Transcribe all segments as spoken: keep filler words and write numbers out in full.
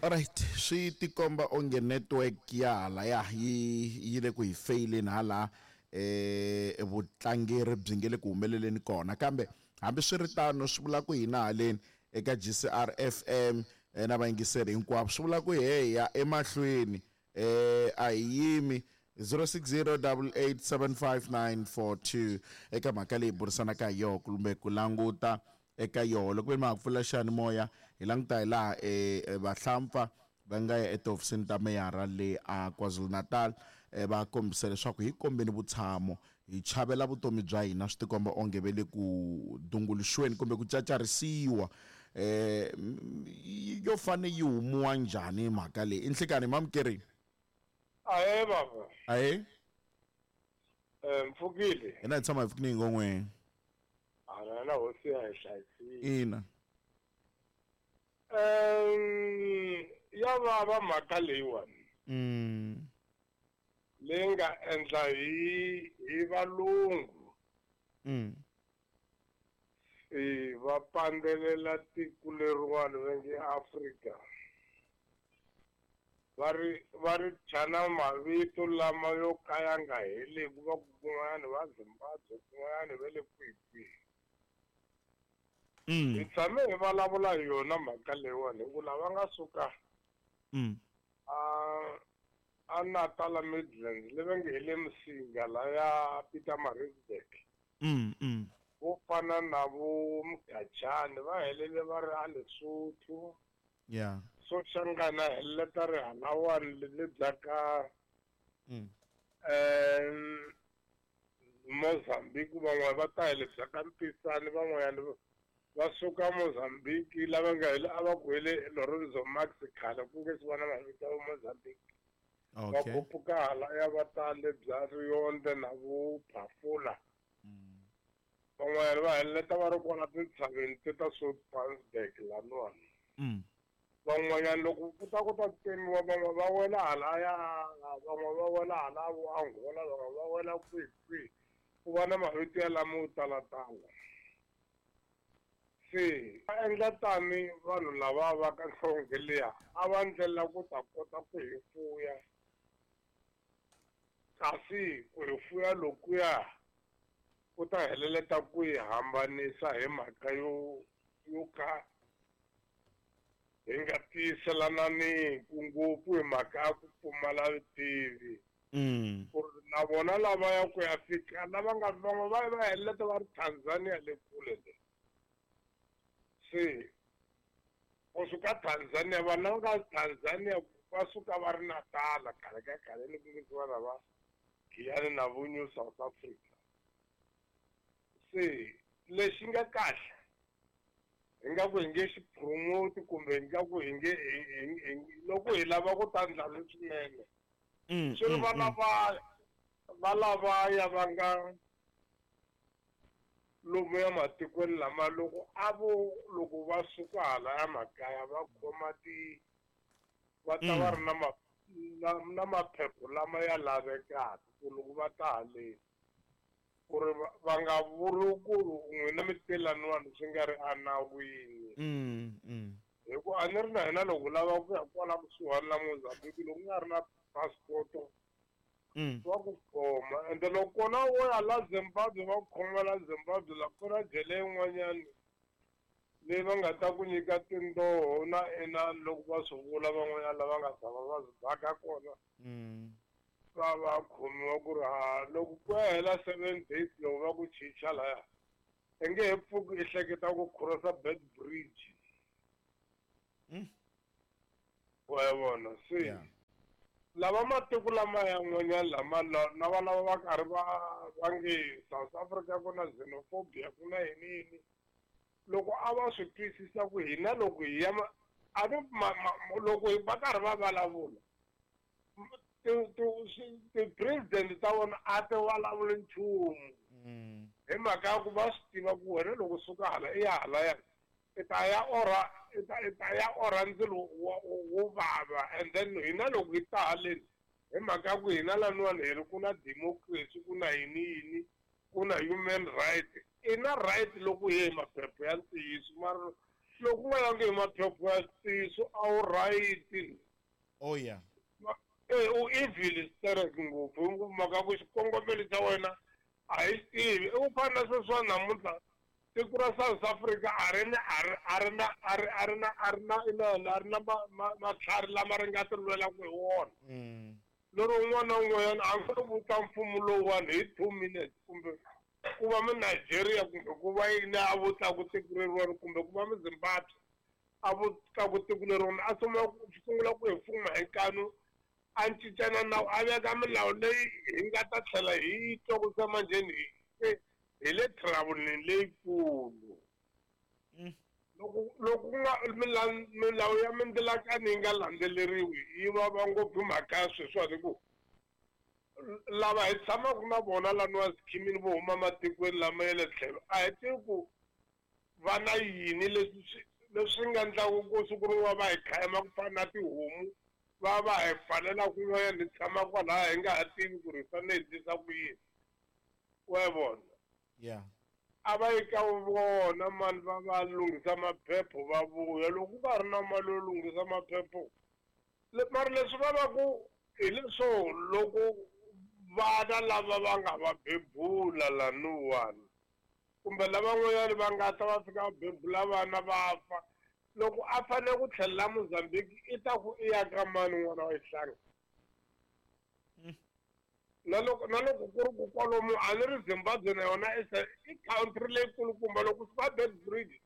Alright, swi tikomba onge network ya halaya yi yi le ku hi feyileni hala eh vutlangeri byi nge le ku humeleleni kona, kambe hambiswiritano swi vula ku hina haleni eka G C R F M na vayingiseri hinkwavo swi vula ku he ya emahlweni eh a hi yimi zero six zero double eight seven five nine four two eka mhaka leyi burisanaka hi yona kumbe ku languta eka yona. Loko ve ma ha pfula xiyanimoya hi languta hi laha eh vahlampfa va nga ya etihofisini ta meyara le a KwaZulu-Natal va kombisa leswaku hi kombeni vutshamo hi chavela vutomi bya hina, swi tikomba onge ve le ku dunguluxiweni kumbe ku cacarisiwa. Eh yo fane yi humiwa njhani mhaka leyi? I nhlikani mamukeri? Ahe baba. Ahe. Eh mpfukile. Hina hi tshama hi pfukile ngongwe. Ana na hosi ya hi hlayisile. Ina. Um ya vava mhaka leyiwani. Mm. Leyi nga endla hi hi valungu. Mm. E va pandzelela tiko leriwani va nge Afrika. Va ri va ri thya mavito lama yo ka ya nga heleki, va ku kun'wanyana va Zimbabwe, kun'wanyana va le kwihi kwihi. Mm. Hi tshame hi vulavula hi yona mhaka leyiwani hi ku lava nga suka Mm. a a Natal Midlands le va nge hi le Msinga laya Pietermaritzburg. Mm, mm. Vo fana na vo Mgajani va helele va ri a Lesotho. Yeah. Soshangana heleta ri halawani le le bya ka Mm. eh Mozambique, van'wana va ta hi le bya ka Mpisane, van'wanyana va suka Mozambique lava nga hi a va ku hi le Lorenzo Max khale ku nge se va na mavito ya Mozambique. Va Okay. khuphuka halaya va ta le bya Rionde na vo Phafula. Mm. Van'wanyana va heleta va ri kona tintshaveni te ta Soutpansberg laniwani. Mm. Van'wanyana loko ku ta ku ta tsemiwa van'we va wela halaya, van'we va wela hala vo Angola, van'we va wela kwihi kwihi. Ku va na mavito ya lamo yo talatala. Se va endla tani vanhu lava va ka nhlonge liya a va ndlela ku ta kota ku hi fuya, kasi ku hi fuya lokuya ku ta heleleta ku hi hambanisa hi mhaka yo yo ka hi nga tiyiselananiki ngopfu hi mhaka ya ku pfumala vutivi. Mm. Ku ri na vona lava ya ku ya fika lava nga van'we va va heleleta va ri Tanzania le kule le. Se kusuka Tanzania vanhu lava nga Tanzania va suka va ri Natal khale ka khale ni ku nge va lava Giyani na vo New South Africa. Se lexi nga kahle hi nga ku hi nge xi promote kumbe hi nga ku hi nge loko hi lava ku ta ndla leswinene. Mm, Swi ri mm, va mm. lava va lavaya va nga lomu ya matikweni lama loko a vo loko va suka hala ya makaya va khoma ti va ta va ri na ma na, na maphepha lama ya lavekaka ku loko va ta haleni ku ri va, va nga vuri ku n'wina mi telaniwani swi nga ri enawini. Mm, mm. Hi ku a ni ri na hina loko lava ku ya kwala kusuhani la Mozambique loko ku nga ri na passport Mm. va ku khoma, ende loko kona wo ya la Zimbabwe va ku khoma la Zimbabwe la ku na jele yin'wanyani leyi va nga ta ku nyika tindzoho na inani loko va swi vula van'wanyana lava nga tshama va swi baka kona. Mm. Va va khomiwa ku ri ha loko ku ya hela seven days loko va ku chicha laya i nge he pfuki i hleketa ku crossa Bed Bridge. Mm. Wa yi vona se Yeah. lava matiko lama ya n'wanyana lama na va lava va karhi va va nge South Africa ku na xenophobia ku na yini yini, loko a va swi twisisa ku hina loko hi ya ma, a ni ma, ma, loko hi va karhi va vulavula ti-president ta vona a ti vulavuli nchumu. Mm. Hi mhaka ya ku va swi tiva ku wena loko suka hala i ya hala ya i ta ya orha, i ta, i ta ya orha ndzilo wo, wo vava, and then hina loko hi ta haleni hi mhaka ya ku hina laniwani hi ri ku na democracy, ku na yini yini, ku na human right, i na right loko hi ye hi maphepha ya ntiyiso, mara Loko u nga yangi hi maphepha ya ntiyiso a wu right. Oh yeah. Eh u evil sterek ngopfu hi mhaka ku xikongomelo xa wena a hi xi tivi. I ku fana na sweswiwa namuntlha tiko ra South Africa a ri na a ri a ri na a ri a ri na a ri na inana a ri na matlhari lama ri nga ti lwelaka hi wona. Lero un'wana na un'wanyana a nga vuta mfumo lowuwani hi two minutes kumbe ku va mi Nigeria kumbe ku va yini a vutlaku tiko leriwani kumbe ku va mi Zimbabwe a vutlaku tiko leriwani a sungula sungula ku hi fuma hi nkanu a cincana nawu a veka milawu leyi hi nga ta tlhela hi yi twa ku se manjheni hi hi le trouble leyikulu. Loko loko ku nga milawu ya mindzilakano yi nga landzeleriwi yi vava ngopfu mhaka ya sweswiwani hi ku lava hi tshamaka na vona laniwa scheme-ini vo huma matikweni lama ya le tlhelo a hi tivi ku va na yini leswi swi leswi nga endlaku ku siku rin'wana va hi khayema ku fana na tihomu va va hi pfalela kun'wanyana hi tshama kwalaya hi nga ha tivi ku ri hi fanele hi endlisa ku yini wa yi vona. Yeah. A va yi ka vona mani va va lunghisa maphepha va vuya loko ku nga ri na mali yo lunghisa maphepha mara leswi va va ku hi leswo loko vana lava va nga va bebula laniwani kumbe lavan'wanyani va nga ta va fika va bebula vana va fa loko a fanele ku tlhelela Mozambique i ta ku i ya ka mani n'wana wa xihlangi na loko na loko ku ri ku kwalomu a ni ri Zimbabwe na yona i country leyikulukumba loko suka Beitbridge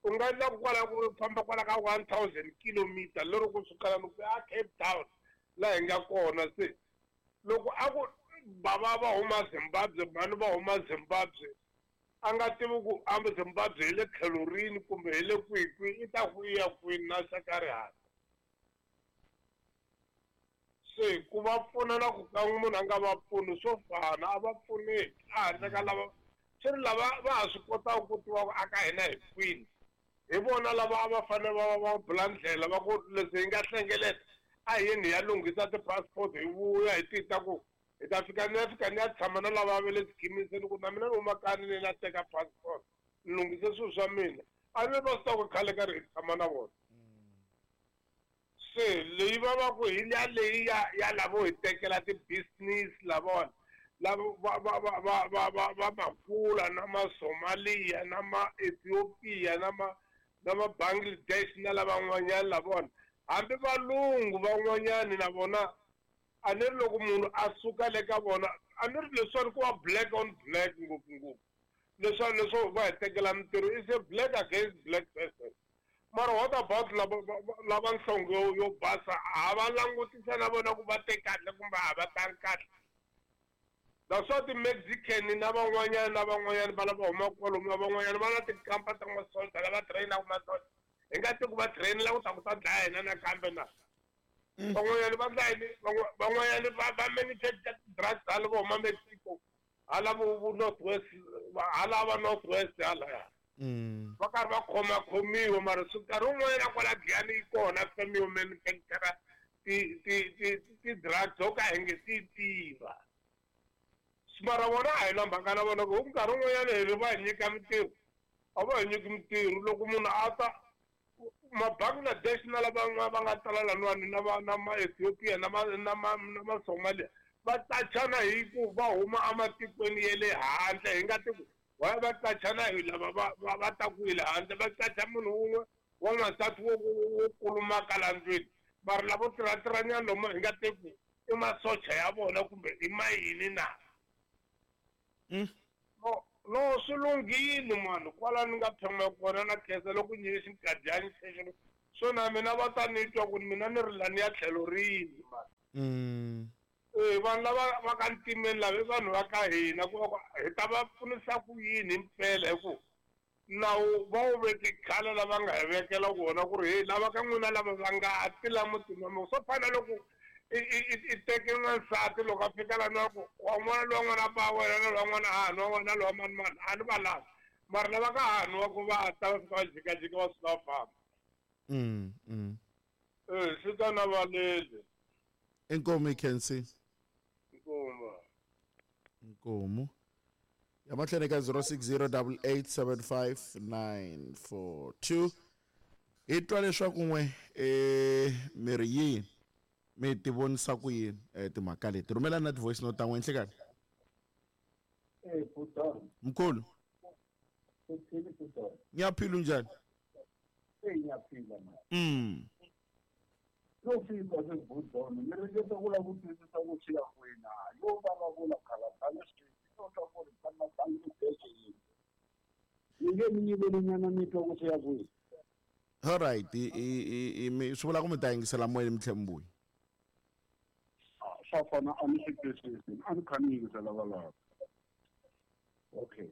u nga endla ku kwala ku famba kwala ka one thousand kilometer lero kusuka lani ku ya Cape Town laha hi nga kona se loko a ku bava va huma Zimbabwe mhani va huma Zimbabwe a nga tivi ku a Zimbabwe hi le tlhelo rini kumbe hi le kwihi kwihi i ta ku i ya kwini na xa rihanyo. Se ku va pfuna na ku ka munhu a nga va pfuni swo fana a va pfuneki a handle ka lava swi ri lava va ha swi kotaka ku tiva ku aka hina hi kwini hi vona lava a va fanele va va va bula ndlela va ku leswi hi nga hlengeleta a hi yeni hi ya lunghisa ti-passport hi vuya hi tita ku hi ta fika ni ya fika ni ya tshama na lava va le scheme-ini ku na mina ni huma kaya ni na teka passport ni lunghise swilo swa mina a ni va swi tiva ku khale karhi hi tshama na vona. Se leyi va va ku hi liya leyi ya ya lavo hi tekela ti-business lavona lava va va va va va va va makula na ma-Somalia na ma-Ethiopia na ma na ma-Bangladesh na lavan'wanyani lavona hambi valungu van'wanyani na vona a ni ri loko munhu a suka le ka vona a ni ri leswiwani ku va black on black ngopfungopfu leswiwani leswo va hi tekela mintirho is a black against black person. Mara what about lava lava nhlonge yo yo basa ha va langutisa na vona ku va te kahle kumbe a va tangi kahle. That's why ti-Mexican na van'wanyana na van'wanyana va lava humaka kwalomu na van'wanyana va na tikampa ta masocha lava train-aka masocha hi nga tivi ku va train-ela ku ta ku ta dlaya hina nakambe na. Van'wanyana va ndla yini van'wanyana va va manufacture ti-drugs hala vo huma Mexico hala vo vo North West hala va North West halaya. Va karhi va khomakhomiwa mara swi nkarhi wun'wanyana kwala Giyani yi kona feme yo manufacture ti ti ti ti-drugs ho ka hi nge ti tiva. Mara vona a hi na mhaka na vona ku nkarhi wun'wanyana hi ri va hi nyika mintirho a va hi nyiki mintirho loko munhu a ta ma-Bangladesh na lava va nga tala laniwani na va na ma-Ethiopia na ma na ma na ma-Somalia va qachana hi ku va huma ematikweni ya le handle hi nga tivi va va qachana hi lava va va va taku hi le handle va qacha munhu wun'we wa n'wansati wo wo kulumaka la ndlwini mara lavo tirhatirhanyana lomu hi nga tivi i masocha ya vona kumbe i ma yini na. No no swi lunghile mani kwala ni nga tshama kona na khensa loko nyike xinkadyana xexo swo na mina va ta ni twa ku mina ni ri lani ya tlhelo rini mani. Eh vanhu lava va ka ntimeni lava i vanhu va ka hina ku va ku hi ta va pfunisa ku yini himpela hi ku nawu va wu veke khale lava nga hi vekela wona ku ri hey lava ka n'wina lava va nga ti la mutini wa mina swo fana na loko i i i teke n'wansati loko a fika lani wa ku wa n'wana lowa n'wana ba wena na lowa n'wana hahani wa wena lowa mani mani a ni va lavi mara lava ka hahani wa ku va ta va fika va jikajika va suka va famba. Eh swi ta na valele. Inkomu Ikhensi. Inkomu. Inkomu. Ya mahlweni ka zero six zero double eight seven five nine four two. Hi twa leswaku n'we eh mi ri yini mi ti vonisa ku yini eh timhaka leti. Rhumela na ti-voice note ta n'we nhlikani. Eh Putana. Mkhulu. Uthini Putana? Ngiyaphila unjani? Eh ngiyaphila manje. Mm. No fika sesibudlona ni ringeta ku lava ku twisisa ku swi ya kwini yo vulavula khalabana swi no twa ku ri tshama bangi bese yini. Ni nge mi nyivelinyana mi twa ku swi ya kwini. All right, i i i swi vula ku mi ta yingisela moyeni mi tlhe mi vuya. Swa fana a ni swi twisisi a ni kha ni yingisela valava. Okay.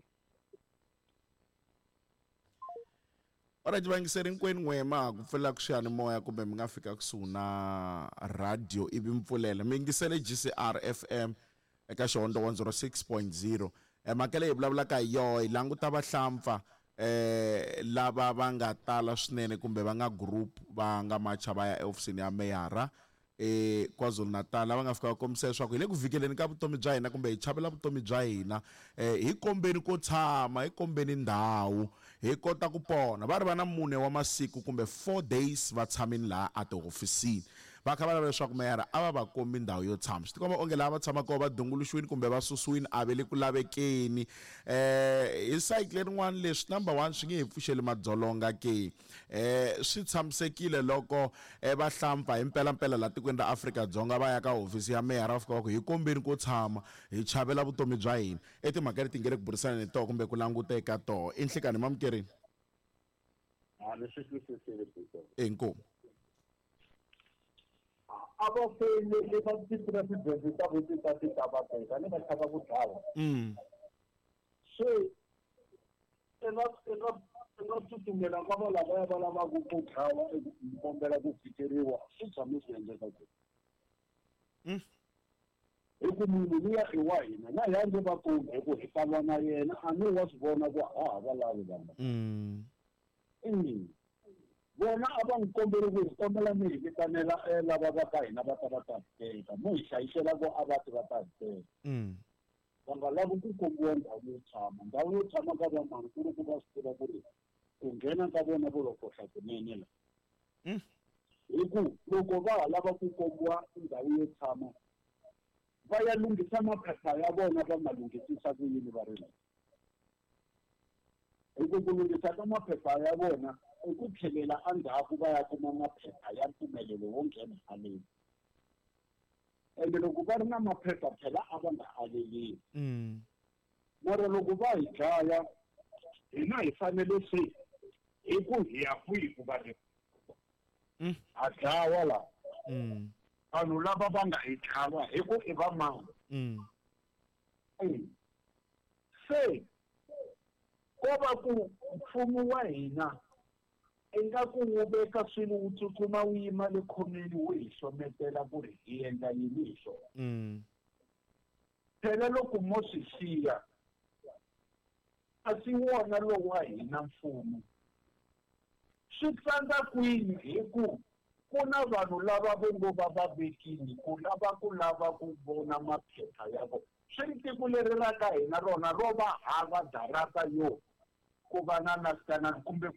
Alright, vayingiseri hinkwenu n'we ma ha ku pfulela ku xiyanimoya kumbe mi nga fika kusuhi na radio ivi mi pfulela mi yingisele G C R F M eka xihondzo one zero six point zero. Mhaka leyi hi vulavulaka hi yoho hi languta vahlampfa eh lava va nga tala swinene kumbe va nga group va nga macha va ya ehofisini ya meyara eh KwaZulu-Natal lava nga fika va kombisa leswaku hi le ku vhikeleni ka vutomi bya hina kumbe hi chavela vutomi bya hina eh hi kombeni ko tshama hi kombeni ndhawu hi kota ku pona. Va ri va na mune wa masiku kumbe four days va tshamini laha a tihofisini va kha va lava leswaku meyara a va va kombi ndhawu yo tshama. Swi tikomba onge laha va tshamaka kona va dunguluxiwile kumbe va susiwile a ve le ku lavekeni. Eh hi cycle lerin'wana leswi number one swi nge hi pfuxeli madzolonga ke eh swi tshamisekile loko vahlampfa hi mpelampela laha tikweni ra Afrika-Dzonga va ya ka hofisi ya meyara va fika va ku hi kombeni ko tshama hi chavela vutomi bya hina. I timhaka leti nge le ku burisana ni toho kumbe ku languta eka toho. I nhlikani mamukerini? A ni swi twisisile Peter. Inkomu. A va feyilele va ti-president ta vo ti ta ti ta va teka ni va chava ku dlawa. Mm. Se i nga i nga i nga tsutsumela ka va lavaya va lavaka ku dlawa i kombela ku fikeriwa swi tshame swi endleka ku. Mm. Hi ku munhu luya i wa hina na hi nge va kombi hi ku hi ta lwa na yena a ni wa swi vona ku a ha va lavi vanhu. Mm. Mm. Vona a va n'wi kombeli ku hi kombela mi hi vitanela lava va ka hina va ta va ta hi teka mo hi hlayisela ku a va ti va ta hi teka. Mm. Va nga lavi ku kombiwa ndhawu yo tshama ndhawu yo tshama ka va mani ku ri ku va swi tiva ku ri ku nghena ka vona vo lo kohla kunene la. Mm. Hi ku loko va ha lava ku kombiwa ndhawu yo tshama va ya lunghisa maphepha ya vona va ma lunghisisa ku yini va ri la. Hi ku ku lunghisa ka maphepha ya vona i ku tlhelela endzhaku va ya kuma maphepha ya mpfumelelo wo nghena haleni. Ende loko va ri na maphepha phela a va nga aleliwi. Mm. Mara loko va hi dlaya hina hi fanele se hi ku hi ya kwihi ku va ri Mm. ha dlawa la. Mm. Vanhu lava va nga hi tlhava hi ku i va mani. Mm. Mm. Se ko va ku mfumo wa hina ingaku wu veka swilo wu tsutsuma wu yima le khomeni wu hi hlometela ku ri hi endla yini hi swona. Mm. Phela loko mo swi xiya a si wona lowu wa hina mfumo. Swi tsandza kwini hi ku ku na vanhu lava vo ngo va va vekile ku lava ku lava ku vona maphepha ya vona. Swi ri tiko leri ra ka hina rona ro va hava darata yo ku va na na kumbe